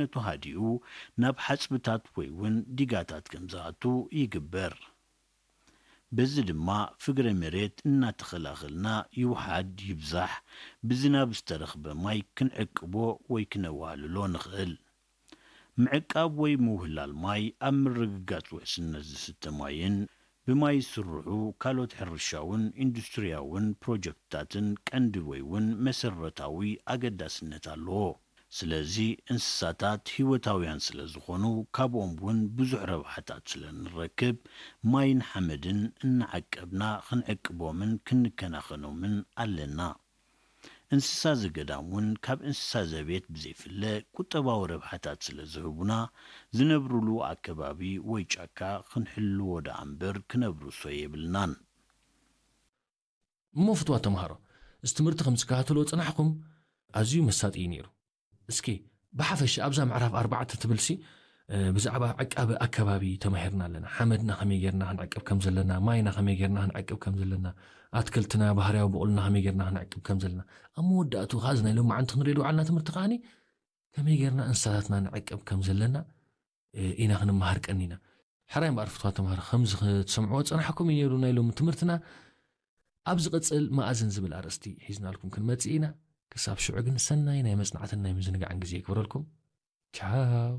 ነቱ ሃዲኡ ናብ ሓጽብታት ወይ እውን ዲጋታት ከም ዝኣቱ ይግበር። በዚ ድማ ፍግረ መሬት እናተኸላኸልና ይውሓድ ይብዛሕ ብዝናብ ዝተረኽበ ማይ ክንዕቅቦ ወይ ክነዋህልሎ ንኽእል። ምዕቃብ ወይ ምውህላል ማይ ኣብ ምርግጋጽ ውሕስነት ዝስተ ማይን ብማይ ዝስርሑ ካልኦት ሕርሻውን ኢንዱስትሪያውን ፕሮጀክትታትን ቀንዲ ወይ እውን መሰረታዊ ኣገዳስነት ኣለዎ። ስለዚ እንስሳታት ህይወታውያን ስለ ዝኾኑ ካብኦም እውን ብዙሕ ረብሓታት ስለ ንረክብ ማይን ሓመድን እናዓቀብና ክንዕቅቦምን ክንከናኸኖምን ኣለና። እንስሳ ዘገዳም እውን ካብ እንስሳ ዘቤት ብዘይፍለ ቁጠባዊ ረብሓታት ስለ ዝህቡና ዝነብሩሉ ኣከባቢ ወይ ጫካ ክንሕልዎ ደኣ እምበር ክነብርሶ የብልናን። እሞ ፍትዋ ተምሃሮ፣ እዚ ትምህርቲ ከም ዝከታተልዎ ጽናሕኩም ኣዝዩ መሳጢ እዩ ነይሩ። እስኪ ብሓፈሻ ኣብዛ ምዕራፍ ኣርባዕተ ትብል ሲ ብዛዕባ ዕቃበ ኣከባቢ ተማሂርና ኣለና። ሓመድና ከመይ ጌርና ክንዕቅብ ከም ዘለና፣ ማይና ከመይ ጌርና ክንዕቅብ ከም ዘለና፣ ኣትክልትና ባህርያዊ ብቑልና ከመይ ጌርና ክንዕቅብ ከም ዘለና። ኣብ መወዳእቱ ከኣ እዚ ናይ ሎማዓንቲ ክንሪኦ ዝወዓልና ትምህርቲ ከኣኒ ከመይ ጌርና እንስሳታትና ንዕቅብ ከም ዘለና ኢና ክንመሃር ቀኒና። ሕራይ እምበኣር ፍትዋ ተምሃሮ፣ ከምዚ ክትሰምዕዎ ዝጸናሕኩም እዩ ነይሩ ናይ ሎሚ ትምህርትና። ኣብ ዝቕጽል መኣዝን ዝብል ኣርእስቲ ሒዝናልኩም ክንመጽእ ኢና። ክሳብ ሽዑ ግን ሰናይ ናይ መጽናዕትን ናይ ምዝንጋዕን ግዜ ይግበረልኩም። ቻው።